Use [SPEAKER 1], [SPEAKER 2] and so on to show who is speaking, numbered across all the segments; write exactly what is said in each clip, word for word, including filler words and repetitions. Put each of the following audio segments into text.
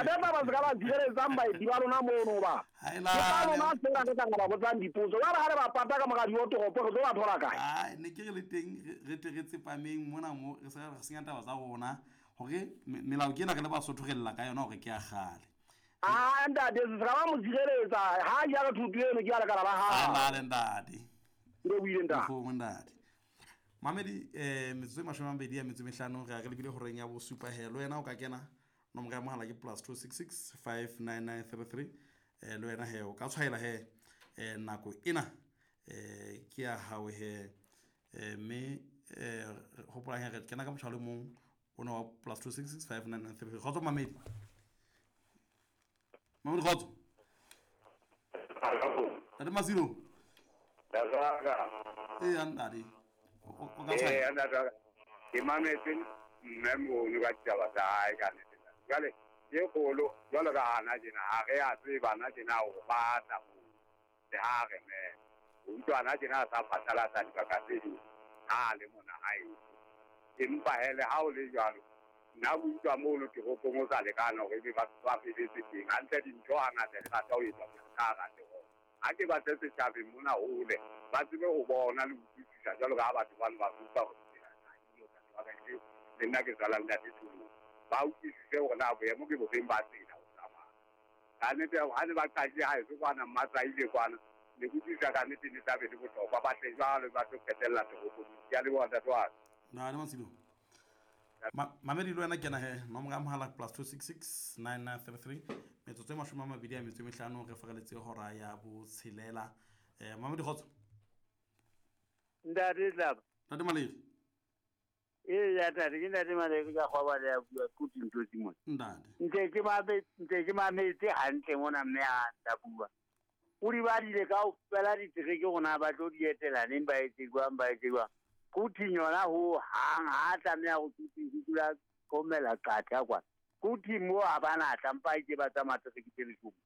[SPEAKER 1] Ntate Tlaba se ka ba tshireletsang baeti ba lona mono ba.
[SPEAKER 2] Ha e
[SPEAKER 1] Ke ka
[SPEAKER 2] lale.
[SPEAKER 1] lona fela re tla ba botsang dipotso. Jwale ha re ba pata ka mora diotoropo re tlo ba thola kae?
[SPEAKER 2] Ai, ne ke re le teng re re tle re tsepameng mona mo re se re senya taba tsa rona hore me- melao ke ena re le Basotho re lla ka yona hore ke ya kgale.
[SPEAKER 1] Ah ntate se ka ba mo tshireletsa ha ja re thuto eno ke ya lekala la
[SPEAKER 2] Ha
[SPEAKER 1] hao.
[SPEAKER 2] lale ntate.
[SPEAKER 1] Ke lebohile ntate.
[SPEAKER 2] Nkgomo ntate. Mamedi eh metsotso e mashome a mabedi a metso e mehlano re a re lebile horeng ya bosupa he le wena o ka kena nomoro ya mohala ke plus two six six five nine nine three three eh le wena he o ka tshwaela he eh nako ena eh ke ya hao he eh mme eh hopolang he re kena ka motjha o le mong ona wa plus two six six five nine nine three three. Kgotso Mamedi. Mamedi kgotso. Ntate Masilo.
[SPEAKER 3] Ntate.
[SPEAKER 2] Ee ntate. O o ka
[SPEAKER 3] Ee,
[SPEAKER 2] tshwaela.
[SPEAKER 3] ntate. Ke mametse mme mono ka ditaba tsa hae ka nnete. Jwale ke kgolo jwalo ka hana tjena ha re a tseba na tjena hore ba tla moo le ha re mema. O utlwa hana tjena a sa phatlalatsa dibaka tse ding ha a le mona hae. Empa hee le ha o le jwalo, nna ke utlwa mono toropong o sa lekana hore ebe batho ba feletse teng. Hantle dintho hangata di rata ho etswa ka hara toropo. Ha ke batle setjhabeng mona hole, ba tsebe ho bona le ho utlwisisa jwalo ka ha batho bano ba utlwa hore tsela ha eyo ntate wa ka le nna ke tswalang ntate Thulong. Ba utlwisise hore na boemo ke bofeng ba tsela ho tsamaya. Ka nnete ha ne ba qadile haeso kwana Mmatsaile kwana, ne ke utlwisisa ka nnete ne tla be le bohlokwa. Ba tle jwalo ba tlo qetella toropong. Ke a leboha ntate wa ka.
[SPEAKER 2] Ntate Masilo. Ma Mamedi le wena kena he nomoro ya mohala plus two six six nine nine three three metsotso e mashome a mabedi a metso e mehlano re fereletse hora ya botshelela. Eh Mamedi kgotso.
[SPEAKER 4] Ntate Tlaba.
[SPEAKER 2] Ntate Maledi.
[SPEAKER 4] Ee ya ntate ke ntate Maledi ka kgwaba le ya bua kutu ntho tse mona.
[SPEAKER 2] Ntate.
[SPEAKER 4] Ntse ke mame ntse ke mametse hantle mona mme ha nta bua. O di badile kaofela ditereke rona ba tlo di etela neng ba etse jwang ba etse jwang. Kuthi yona ho hang ha tlameha ho kuthi ho dula komela qatha kwa. Kuthi mo ha bana tla mpa ke ba tsamaya tereke tse leshome.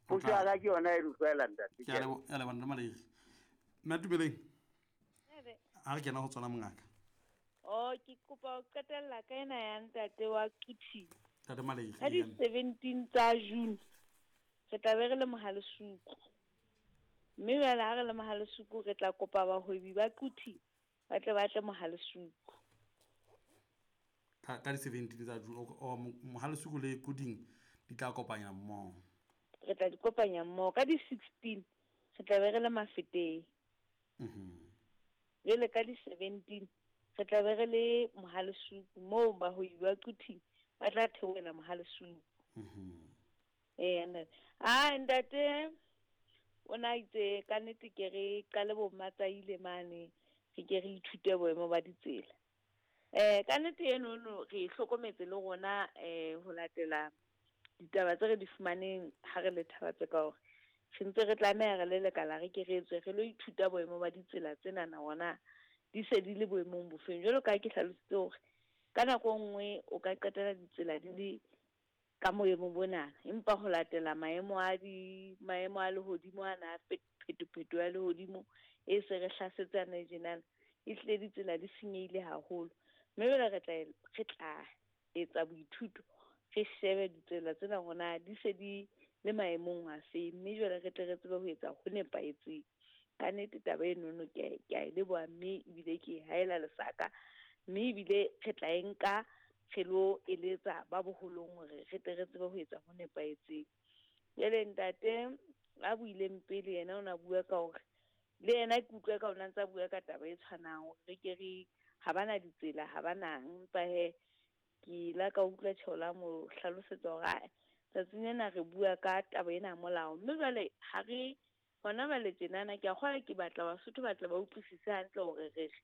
[SPEAKER 4] Potso ya ka ke yona e utlwela ntate.
[SPEAKER 2] Ke a lebo- ke a leboha ntate Maledi. Mme Tumeleng. Ha re kena ho tsona mongaka.
[SPEAKER 5] Oh, ke kopa ho qetella ka ena ya ntate wa Kuthi.
[SPEAKER 2] Ntate Maledi.
[SPEAKER 5] Ka di seventeen tsa June re tla be re le Mohalesuku. Mme jwale ha re le Mohalesuku re tla kopa bahwebi ba Kuthi ba tle ba tle Mohalesuku.
[SPEAKER 2] Ka ka di seventeen tsa June o o Mohalesuku le Kuding di tla kopanya mmoho.
[SPEAKER 5] Re tla di kopanya mmoho ka di sixteen re tla be re le Mafeteng.
[SPEAKER 2] Mhm.
[SPEAKER 5] Jwale ka di seventeen re tla be re le Mohalesuku moo bahwebi ba Kuthi ba tla theohela Mohalesuku.
[SPEAKER 2] Mhm.
[SPEAKER 5] Eh ntate. Ah ntate o na itse ka nnete ke re qale bo Mmatsaile mane re ke re ithute boemo ba ditsela. Eh ka nnete eno no re hlokometse le rona eh ho latela ditaba tse re di fumaneng ha re le thaba tse ka hore re ntse re tlameha re le lekala re ke re tswe re lo ithuta boemo ba ditsela tsena na hona di se di le boemong bofeng. Jwalo ka ha ke hlalositse hore ka nako e nngwe o ka qetela ditsela di le ka moemo bona empa ho latela maemo a di maemo a lehodimo ana a phetopheto ya lehodimo e se re hlasetse ana tjenana e hlile ditsela di senyehile haholo. Mme jwale re tla re tla etsa boithuto re shebe ditsela tsena hona di se di le maemong afe mme jwale re tle re tsebe ho etsa ho nepahetseng. Ka nnete taba enono ke a ke a e leboha mme ebile ke e haela lesaka mme ebile re tla e nka re lo eletsa ba boholong hore re tle re tsebe ho etsa ho nepahetseng. Jwale ntate a buileng pele yena o na bua ka hore le yena ke utlwe ka ona ntsa bua ka taba e tshwanang hore re ke re ha bana ditsela ha bana empa he ke la ka utlwa tjheola mo hlalosetsa hore ae tsatsing lena re bua ka taba ena ya molao mme jwale ha re hona jwale tjenana ke a kgolwa ke batla Basotho ba tle ba utlwisise hantle hore re re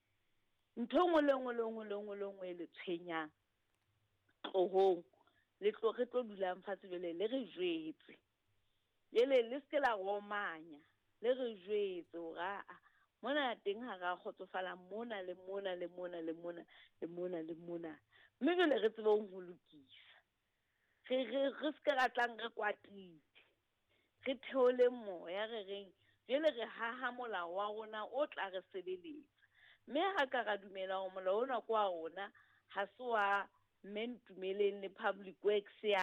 [SPEAKER 5] ntho e nngwe le nngwe le nngwe le nngwe le nngwe e le tshwenyang tlohong le tlo re tlo dulang fatshe jwale le re jwetse. Jwale le se ke la romanya le re jwetse hore aa mona teng ha ra kgotsofala mona le mona le mona le mona le mona le mona mme jwale re tsebe ho lokisa. Re re re se ke ra tlang re kwatile. Re theole moya re reng jwale re haha molao wa rona o tla re sebeletsa. Mme ha ka ra dumela hore molao ona ke wa rona ha se wa mme Ntumeleng le Public Works ya